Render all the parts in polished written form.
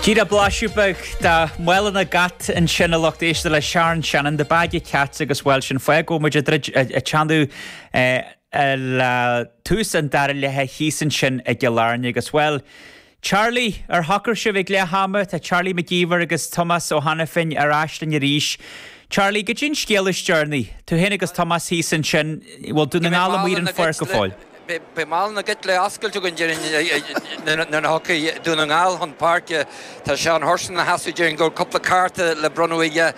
Díreach blaiseadh beag de Mála na gCat ansin a lucht éisteachta le Sharon Shannon, The Bag of Cats agus bhuel sin fáth go bhfuil muid ag druid ag teannadh le tús an dara leatha thíos ansin i gCill Airne agus bhuel Charlie, ar shocair sibh ag leath ama? Tá Charlie Mac Íomhair agus Tomás Ó hAiniféin ar ais linn arís. Charlie, goidé an scéal is deireanaí? Tú féin agus Tomás thíos ansin, bhfuil Dún na nGall amuigh ar an pháirc go fóill? Beidh mála na gcait le oscailt againn déarfainn nuair a thiocfaidh Dún na nGall chun páirce. Tá Seán Hurson ina sheasamh déarfainn go bhfuil cúpla cárta le bronnadh aige.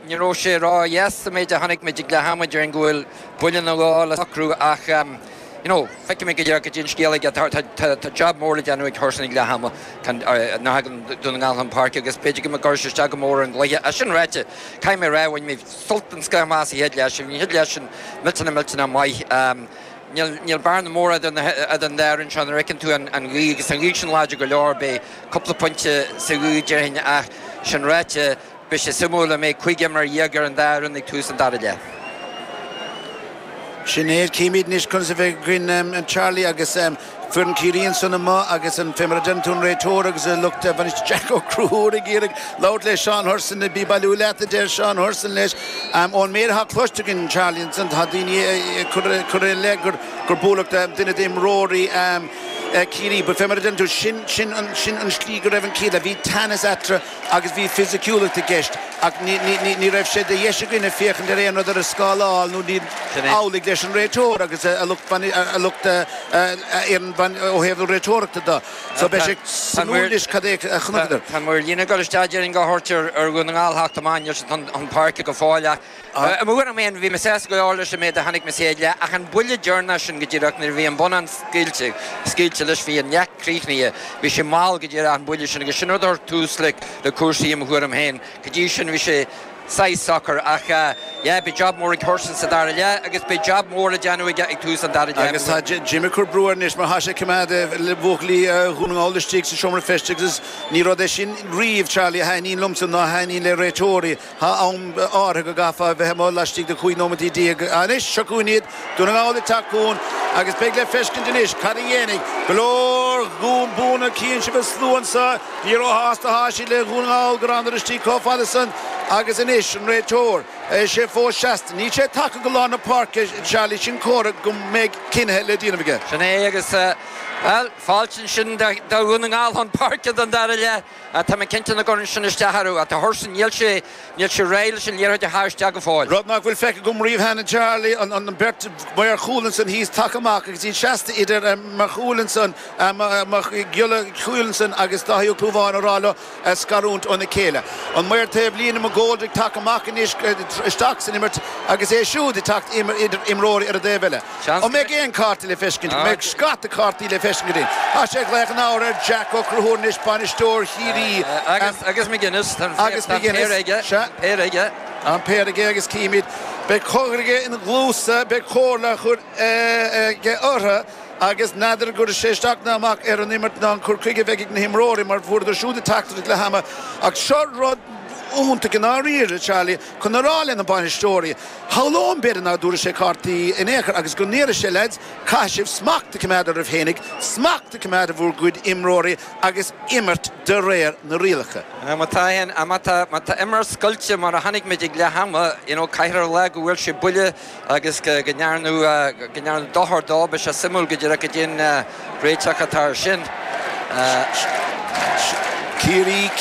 Ní raibh sé ródheas sa méid a chonaic muid ag leath ama déarfainn go bhfuil buille nó dhó le socrú ach you know feicfidh muid go deo goidé an scéal aige. Tá job mór le déanamh ag Hurson ag leath ama nuair a thagann Dún na nGall chun páirce agus b'fhéidir go gcuirfidh sé isteach go mór ar an gcluiche. É sin ráite, caithfidh mé a rá, bhain mé sult den scoth amach as an chéad leath sin. Bhí an chéad leath sin millteanach millteanach maith. Níl bearna mór idir an dá fhoireann seo nuair a fheiceann tú an ghaoth agus an ghaoth sin láidir go leor, beidh cúpla pointe sa ghaoth déarfainn ach sin ráite, beidh sé suimiúil an mbeidh 15 imreoir ar an dá fhoireann ag tús an dara leath. Sin é, címid anois conas a bheidh againn Charlie agus foireann Chiarraí ansan amuigh agus an fé mar a deireann tú an réiteoir agus a lucht bainistí Jack Ó Conchúir ag iarraidh labhairt le Seán Hurson, bí ag bailiú leat a deir Seán Hurson leis. Ón méid atá cloiste againn Charlie ansan tá daoine ag cur i leith gur buaileadh duine d'imreoirí Chiarraí but fé mar a deireann tú sin sin an sin an slí go raibh an chéad leath. Bhí teannas eatarthu agus bhí fisiciúlacht i gceist ach ní ní ní raibh sé de dheis againne féachaint ar aon rud ar an scáileán nó ní amhlaidh leis an réiteoir agus a lucht a lucht ó thaobh na réiteoireachta de. So beidh sé suimiúil anois cad é a chonaiceadar. Tá maor líne ag dul isteach déarfainn go thabhairt ar Dhún na nGall theacht amach, níl siad chun páirce go fóill ach i mo thuairim féin bhí mé sásta go leor leis an méid a chonaic mé sa chéad leath ach an buille deireanach sin go díreach nuair a bhí an bonnán scaoilte, scaoilte leis bhí an leath críochnaithe, bhí sé mall go díreach an buille sin agus sin rud a chuir tús le cúrsaí i mo thuairim féin. Go dtí sin bhí sé saghas socair ach yeah beidh job mór ag Hurson sa dara leath agus beidh job mór le déanamh aige ag tús an dara leath. Agus tá Jim ag cur brú air anois mar tá sé ag coimeád buachaillí Dhún na nGall istigh sa seomra feistis agus ní rud é sin riamh Charlie a thaitníonn liomsa ná a thaitníonn le réiteoirí. Tá am áirithe go gcaithfeá a bheith amuigh laistigh de 15 nóimeataí. Anois seo chugainn iad, Dún na nGall ag teacht chugainn agus beidh le feiscint anois cad a dhéanfaidh go leor Dhún Búinne. Cíonn sibh an slua anseo. Ní róshásta atá siad le Dhún na nGall go rabhadar istigh chomh fada san agus anois an réiteoir, sé fós seasta. Níl sé tagtha go lár na páirce, Charlie, sin comhartha go mbeidh cinnithe le déanamh aige. Sin é agus, bhuel, fáilte ansin do Dhún na nGall chun páirce don dara leath. Tá mé cinnte nach gcuireann sin isteach orthu. Ach tá Hurson, níl sé, níl sé réidh leis an liathróid a shá isteach go fóill. Rud nach bhfuil feicthe agam riamh cheana, Charlie, an bheirt mhaor chúil ansan thíos tagtha amach agus iad seasta idir maor chúil ansan, maor giolla chúil ansan agus Dáithí Ó Clúmháin ag rá leo scarúint óna chéile. An maor taobh líne McGoldrick tagtha amach anois isteach san imirt agus é siúd ag teacht idir imreoirí ar an dtaobh eile. An mbeidh aon cárta le feiscint? An mbeidh scata cártaí le feiscint againn? Tá sé ag glaoch an ábhair ar Jack Ó Conchúir anois, bainisteoir Chiarraí. Agus McGuinness, tá an péire aige. Sea. An péire aige. An péire aige agus címid. Beidh cogar aige ina gcluasa, beidh comhairle á chur aige orthu agus n'fheadar an gcuirfidh sé isteach ná amach ar an imirt ná an cur chuige a bheidh ag na himreoirí mar fuaireadar siúd a dteachtaireacht ag leath ama. Ach seo rud iontach i ndáiríre, Charlie, chun a rá le na bainisteoirí. Shamhlóinn b'fhéidir nach dtabharfaidh sé cártaí in aon chor agus go ndéarfaidh sé, Lads, caithfidh sibh smacht a choimeád oraibh fhéinig, smacht a choimeád ar bhur gcuid imreoirí agus imirt de réir na rialacha. Má tá aon, má tá, má tá imirt scoilte mar a chonaic muid ag leath ama, you know, caithfear a rá go bhfuair sé buille agus go ndearnadh, go ndearnadh dochar dó, beidh sé suimiúil go díreach goidé an réiteach atá ar sin. Ciarraí.